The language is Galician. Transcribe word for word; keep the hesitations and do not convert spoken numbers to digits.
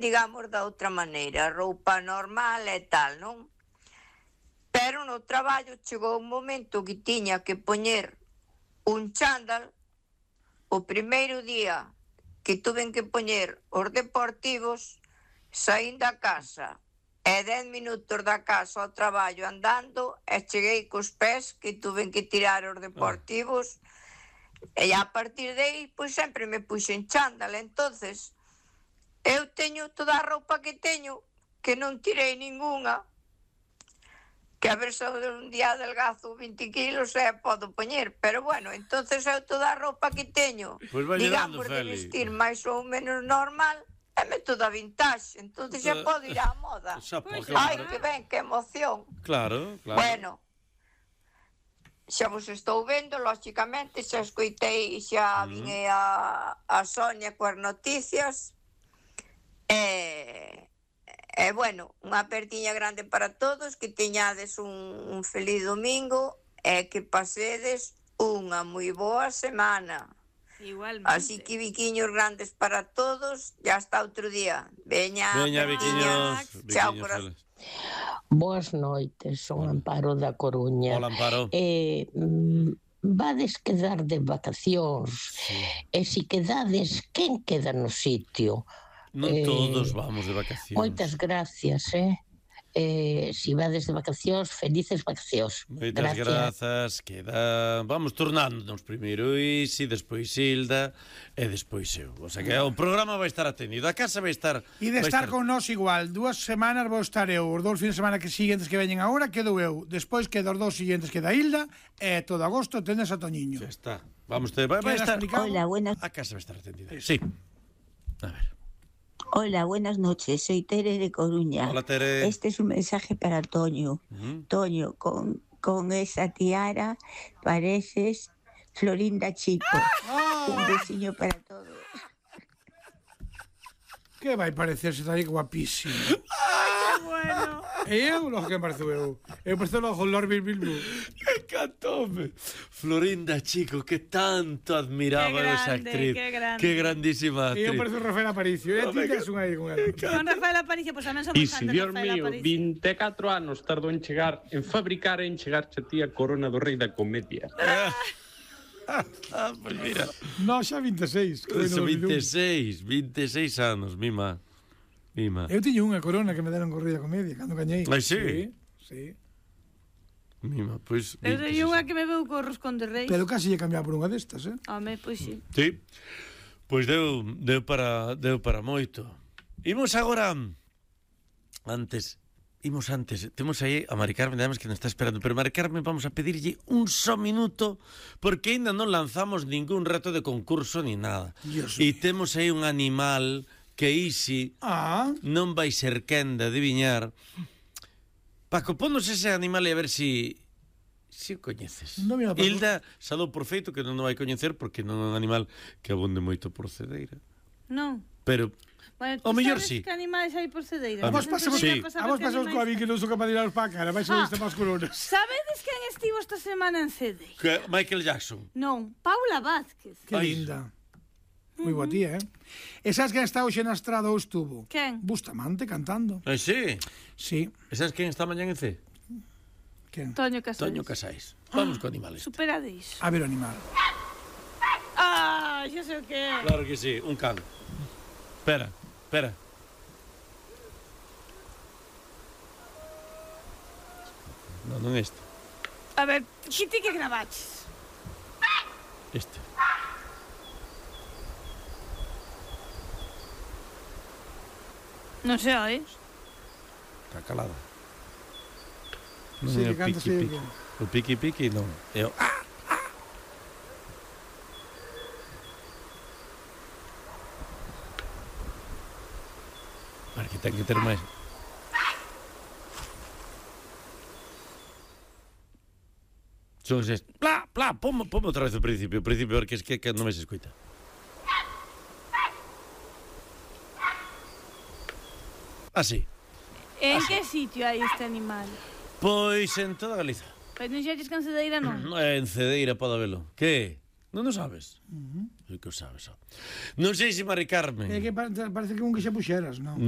digamos, da outra maneira, roupa normal e tal, non? Pero no traballo chegou un momento que tiña que poñer un chándal. O primeiro día que tuven que poñer os deportivos, saín da casa e dez minutos da casa ao traballo andando e cheguei cos pés que tuven que tirar os deportivos e a partir de aí, pois sempre me puxen chándal. Entonces, eu teño toda a roupa que teño, que non tirei ningunha, que a ver se un día adelgazo vinte kilos e podo poñer, pero bueno, entonces eu toda a roupa que teño, pues digamos, de vestir máis ou menos normal, é método vintage, entonces xa podo ir á moda. Pues, ai, que ben, que emoción. Claro, claro. Bueno, xa vos estou vendo, lógicamente, xa escoitei, xa vin a, a Sonia coas noticias. E, e bueno, unha apertiña grande para todos, que teñades un, un feliz domingo e que pasedes unha moi boa semana. Igualmente. Así que biquiños grandes para todos, ya hasta outro día. Veña, Veña, biquiños. Chao, biquiños corazón. Boas noites, son Amparo da Coruña. Hola, Amparo. Eh, mm, vades quedar de vacacións, Sí. e si quedades, quen queda no sitio? Non Eh, todos vamos de vacacións. Moitas gracias, eh? eh si vades de vacacións, felices vacacións. Moitas grazas, queda... Vamos turnándonos primeiro Isi, despois Hilda e despois eu. O sea que o programa vai estar atendido, a casa vai estar... E de vai estar con nós igual, dúas semanas vou estar eu, os dous fines de semana que siguientes que veñen agora quedo eu, despois quedo os dous siguientes queda Hilda e todo agosto tendes a Toñiño. Xa está. Vamos, te... vai, vai Queda estar... explicado. Hola, buenas, A casa vai estar atendida. Sí. A ver. hola, buenas noches. Soy Tere de Coruña. Hola, Tere. Este es un mensaje para Toño. Uh-huh. Toño, con, con esa tiara pareces Florinda Chico. Ah, Un besiño para todos. que vai parecerse está aí guapísimo. Bueno. E eu, lo que parezo eu. Eu parezo logo Lord Bilbil. Encantoume. Florinda Chico, que tanto admiraba Qué esa grande, actriz. qué grande. Qué grandísima E eu actriz. parezo Rafael Aparicio. E ti tes un aí con ela. Con Rafael Aparicio, pois pues, tamén somos E fans se, de Dios Rafael mío, Aparicio. vinte e catro anos tardou en chegar, en fabricar e en chegarche a ti a corona do rei da comedia. Ah, pues mira. No, xa vinte e seis. que Eso, bueno, veintiséis, veintiséis anos, mima. Mima. Eu tiño unha corona que me deron corrida comedia cando gañei. Ai, sí? Sí, sí. Mima, pois... Eu teño unha que me veu co roscón de reis. Pero casi lle cambiar por unha destas, eh? Home, pois sí. Sí. Pois deu, deu para deu para moito. Imos agora antes, imos antes. Temos aí a Mari Carmen, además que nos está esperando, pero Mari Carmen vamos a pedirlle un só minuto porque aínda non lanzamos ningún reto de concurso ni nada. Dios E mío. temos aí un animal que Isi Ah, non vai ser quen de adiviñar. Paco, ponnos ese animal e a ver si si o coñeces. Non me va, Paco. Hilda salou por feito que non o vai coñecer porque non é un animal que abonde moito por Cedeira. Non. Pero Bueno, O tú mellor sabes sí. que animais hai por Cedeira? A vamos ver, pasamos, sí. vamos pasamos coa Vicky, non sou capaz de ir para a cara, vais a Ah. ver más coronas. Sabedes quen estivo esta semana en Cedeira? que Michael Jackson. Non, Paula Vázquez. Que Ai. linda. Moi boa tía, eh? E sabes quen está hoxe na estrada ou estuvo? Quen? Bustamante cantando. Ai, sí. Sí. E sabes quen está mañán en C? Quen? Toño Casais. Toño Casais. Vamos co animal este. Superadís. A ver o animal. Ah, xa sei o que é. Claro que sí, un can. Espera, espera. Non, non este. A ver, que ti que gravaches? Este. Non sei, ois. Está calada. Non Sí, é que o canta, piqui sí, piqui. O piqui piqui non. É o... Ah! Para que ten que ter máis. Son estes. Pla, pla, pomo, pomo outra vez o principio, o principio, porque es que, que non me se escoita. Así. En que sitio hai este animal? Pois en toda Galiza. Pois non xa en Cedeira, non? En Cedeira pode velo. Que? Non o sabes? Uh -huh. Que o sabes, ó. Non sei se Mari Carmen. É que parece que un que xa puxeras, non?